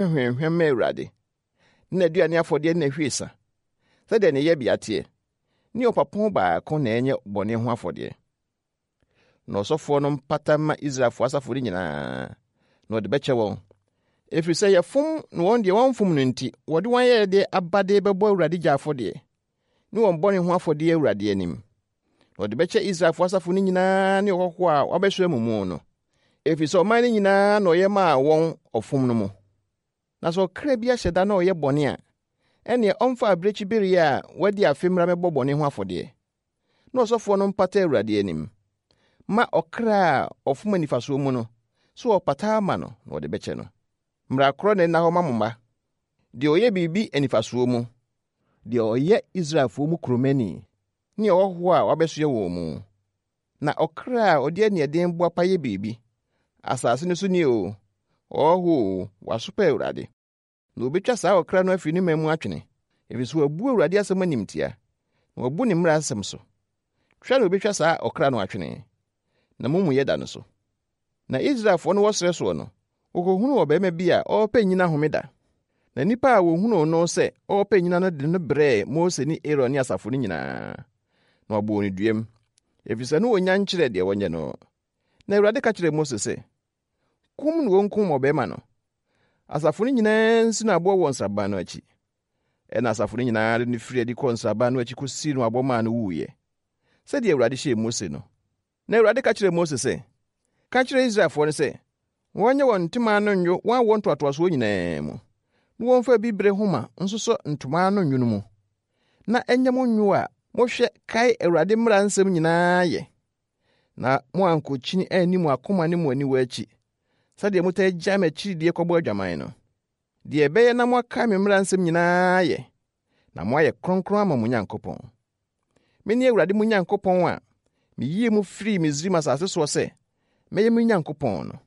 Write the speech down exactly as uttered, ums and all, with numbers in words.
Hwahwam ma Awurade, ne n'aduane afɔdeɛ ne n'ahwiesa, sɛdeɛ ne yɛbea teɛ, ne ɔpapo baako na ɛnyɛ bɔne ho afɔdeɛ. Na ɔsɔfoɔ no mpata mma Israelfoɔ asafo no nyinaa, na ɔde bɛkyɛ wɔn, ɛfiri sɛ yɛfom na wɔn deɛ wɔmfom no nti, wɔde wɔn ayɛyɛdeɛ abade bɛbɔ Awurade gya afɔdeɛ, ne wɔn bɔne ho afɔdeɛ Awurade anim. Na ɔde bɛkyɛ Israelfoɔ asafo no nyinaa ne ɔhɔhoɔ a wabɛsoɛ mo mu no, ɛfiri sɛ ɔman no nyinaa na ɔyɛ maa wɔn ɔfom no mu. Na sɛ ɔkra bi ahyɛ da na ɔyɛ bɔne a, ɛnneɛ ɔmfa abirekyibereɛ a wadi afe mmra mmɛbɔ bɔne ho afɔdeɛ. Na ɔsɔfoɔ no mpata Awurade anim ma ɔkra a ɔfom anifasoɔ mu no, sɛ ɔpata ama no na ɔde bɛkyɛ no. Mmara korɔ na ɛnna hɔ ma mo mma. Deɛ ɔyɛ biribi anifasoɔ mu, deɛ ɔyɛ Israelfoɔ mu kuromani, ne ɔhɔhoɔ a wabɛsoɛ wɔn mu. Na ɔkra a ɔde aniɛden boapa yɛ biribi, asase no so ni o, ɔhɔhoɔ o, wasopa Awurade. Na obetwa saa ɔkra no afiri ne man mu atwene, ɛfiri sɛ wabu Awurade asɛm animtia, na wabu ne mmara asɛm so. Twa na obetwa saa ɔkra no atwene, na mo mu yɛ da no so. Na Israelfoɔ no wɔ serɛ soɔ no, wɔkɔhunuu ɔbarima bi a ɔrepɛ nnyina homeda. Na nnipa a wɔhunuu no sɛ ɔrepɛ nnyina no de no brɛɛ Mose ne Aaron ne asafo no nyinaa, na wɔbɔɔ no duam, ɛfiri sɛ na wɔnnya nkyerɛ deɛ wɔnyɛ no. Na Awurade ka kyerɛɛ Mose sɛ, kum na wɔnkum ɔbarima no. Asafo no nyinaa nsi no aboɔ wɔ nsraban no akyi. Ɛna asafo no nyinaa de no firi adi kɔɔ nsraban no akyi kɔsii no aboɔ maa no wuiɛ, sɛdeɛ Awurade hyɛɛ Mose no. Na Awurade ka kyerɛɛ Mose sɛ, ka kyerɛ Israelfoɔ no sɛ, wɔnyɛ wɔn ntoma ano nnwo wɔn awoɔ ntoatoasoɔ nyinaa mu, na wɔmfa bibire homa nsosɔ ntoma ano nnwo no mu, na ɛnyɛ mo nnwo a mohwɛ kae Awurade mmara nsɛm nyinaa yɛ, na moankɔkyini anni mo akoma ne mo aniwa akyi, sɛdeɛ motaa gyae m'akyiridie kɔbɔ adwaman no. Deɛ ɛbɛyɛ na moakae me mmara nsɛm nyinaa yɛ, na moayɛ kronkron ama mo Nyankopɔn. Mene Awurade mo Nyankopɔn a miyii mo firii Misraim asase soɔ sɛ mɛyɛ mo Nyankopɔn no.